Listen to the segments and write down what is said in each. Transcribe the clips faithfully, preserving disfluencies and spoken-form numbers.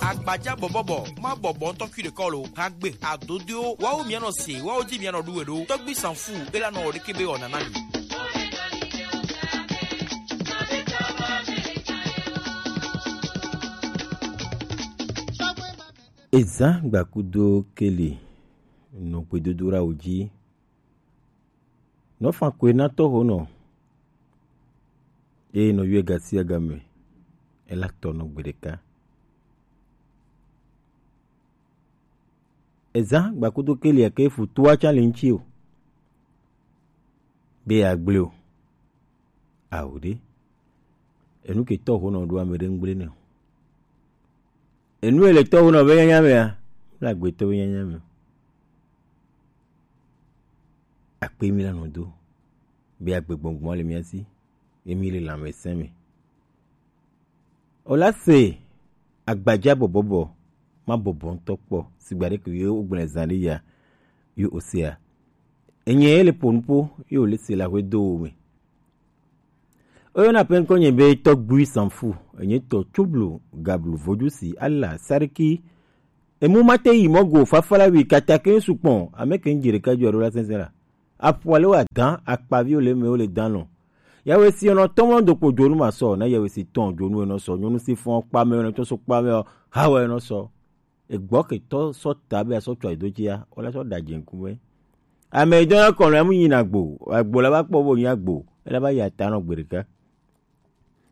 Agbaja bɔbɔbɔ, ma bɔbɔ ŋutɔ kui ɖekɔ lo. Hagbe, adodoewo, wawo mianɔ se, wawo di mianɔ ɖu we ɖo. Tɔgbi sanfu, ela nɔ ɖeke be wɔna na mi. Ezã gbakudo keli nɔ gbedodoɖawo ji. Nɔ fan koe na tɔxonɔ. Eye nɔ yɔe gasiagame. Ela tɔ nɔ gbe ɖeka. Ezã gbakudo keli ake fu toa tsa le ŋuti o. Be agble o. Awo ɖe. Enu ke tɔxonɔ ɖo ame ɖe ŋgble ne o. Enu ele tɔxonɔ be nyanya mea, le agbetɔ be nyanya me. Akpe mi la nɔ do. Be agbe gbɔngbɔn le mia si. Emi le lãmesẽ me. O la se agbaja bɔbɔbɔ, ma bɔbɔ ŋutɔ kpɔ, sigba ɖe ke ye wogblẽ zã ɖe ya, ye osea. Enye ye le ƒo nuƒo, ye wòle se le aƒe do wo me. Oyɔna ƒe ŋkɔ nye be Tɔgbui Sanfu, enye tɔ Tsublu, Gablu, Vodusi, Ala, Sariki, emu mate yi mɔ go, Fafalawi, Katake, Sukpɔn, ame ke ŋdzi ɖeka dzo alo la sɛnsɛn la. Aƒua le wa dan, akpaviwo le eme, wo le dan lɔ. Yawe si nɔ tɔmɔ do kpo dzonu ma sɔ, na yawe si tɔn dzonu enɔ sɔ, nyɔnu si fɔn kpame, enɔ tɔ so kpame, hawa enɔ sɔ. Egbɔ ke tɔ sɔ ta be asɔ tsɔ do dzia, wala sɔ da dze ŋkume. Ame yi dɔna kɔnɔ, emu yi na gbo, agbo la ba kpɔ bo nya gbo, ela ba ya ta nɔ gbe ɖeka.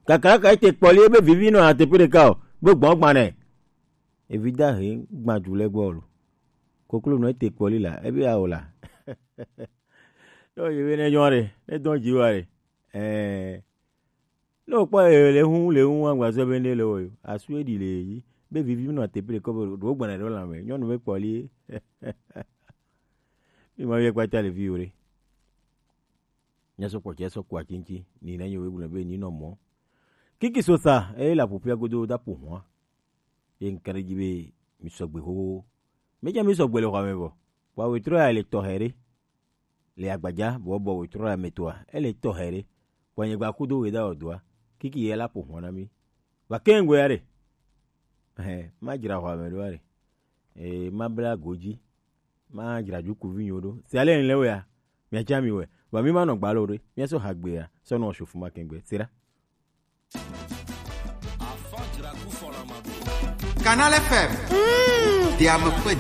Kakaraka ete kpɔli ebe vivi nɔ ateƒe ɖeka o, be gbɔn gbanɛ. Evi da he gban du le gbɔ lo. Koklo nɔ ete kpɔli la, ebe awo la. Yo, ye be ne nyɔ ɖe, ne dɔn dzi wa ɖe. Eh, ne wokpɔ ye le hu, le hu, agba zɔ be ne le wo yo. Asu eɖi le yi. Be vivi nɔ ateƒe ɖeka be ɖo gbana ɖo la me. Nyɔnu be kpɔli. Mi ma vie kpata le vi wo ɖe. Nya sɔ kpɔ tse sɔ kua tsintsi. Ni na nyo we gblɔ be ni nɔ mɔ. Kiki sosa, e la ƒoƒia godo da ƒo hwa. Ye ŋka ɖe dzi be mi sɔgbe xoxo. Medze mi sɔgbe le xɔa me vɔ. Vɔa wetrɔ ya le tɔxɛ ɖe. Le agbadza bɔbɔ wetrɔ ya me tɔa, ele tɔxɛ ɖe. Vɔa nye gba kudo we da wɔ doa. Kiki ye la ƒo hwa na mi. Va ke ŋgɔe ya ɖe. Ɛhɛ, ma dzra xɔa me ɖo ya ɖe. Ee, ma bla go dzi. Ma dzra dzukuvi nyo ɖo. Si ale le wea, mia dza mi wɛ. Vɔa mi ma nɔ gbalo ɖe. Mia sɔ hagbe ya. Sɔ nɔ shofu ma kengbe. Sira. Canal F M. Des à peu près